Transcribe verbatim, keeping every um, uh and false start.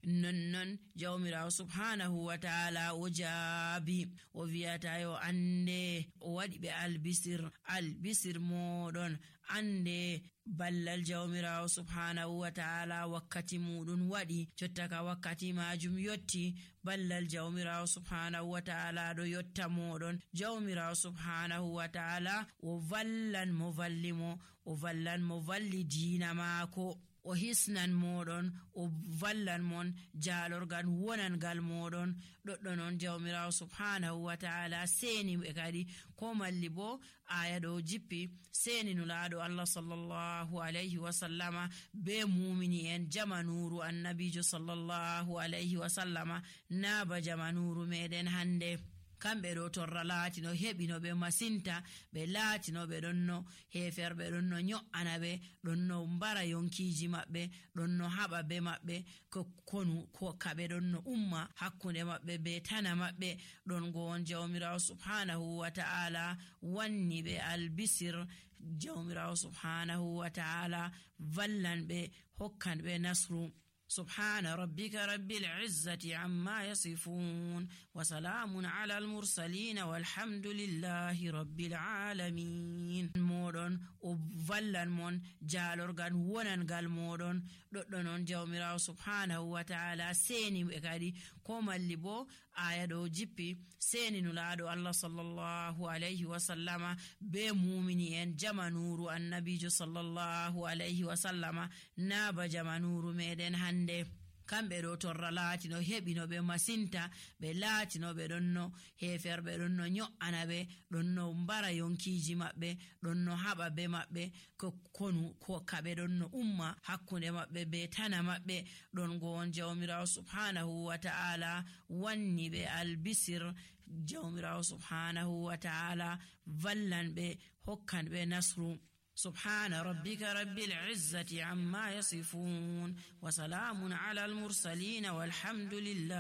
nonnon jawmirawo subhanahu wa ta'ala o jaabi o wi'ata yo ande o wadi be albisir albisir modon ande ballal jawmirawo subhanahu wa ta'ala wakkati mudun wadi jottaka wakkati majum yotti ballal jawmirawo subhanahu wa ta'ala do yotta modon jawmirawo subhanahu wa ta'ala o vallan mo vallimo o vallan mo valli diina maako o hisnan modon o vallan mon jaalorgal wonangal modon doddo non jawmirawo subhanahu wa ta'ala seni be kadi ko malli bo aya do jippi seni nulaado Allah sallallahu alayhi wa sallama be mu'mini en jamanuru annabijo sallallahu alayhi wa sallama na ba jamanuru meden hande kambe do torra laatino hebino be masinta be laatino be donno heferbe donno nyo anabe donno mbara yonkiji mabbe donno haba be mabbe ko konu ko kabe donno umma hakkunde mabbe be tana mabbe don go on jawmirawo subhanahu wa ta'ala wanni be albisir jawmirawo subhanahu wa ta'ala vallan be hokkan be nasru سبحان ربك رب العزة عما يصفون وسلام على المرسلين والحمد لله رب العالمين مودون وفلن من جالورغان وننغال مودون دودون جawmirawo subhanahu wa ta'ala seni bekadi ko malli bo aya do jippi seni nulaado Allah sallallahu alayhi wa sallama be mu'mini en jamanuru annabijo sallallahu alayhi wa sallama na ba jamanuru meden hande kambe do torra laatino hebino be masinta be laatino be donno heferbe donno nyo anabe donno mbara yonkiji mabbe donno haba be mabbe ko konu ko kabe donno umma hakkunde mabbe be tana mabbe don go on jawmirawo subhanahu wa ta'ala wanni be albisir jawmirawo subhanahu wa ta'ala vallan be hokkan be nasru سبحان ربك رب العزة عما يصفون وسلام على المرسلين والحمد لله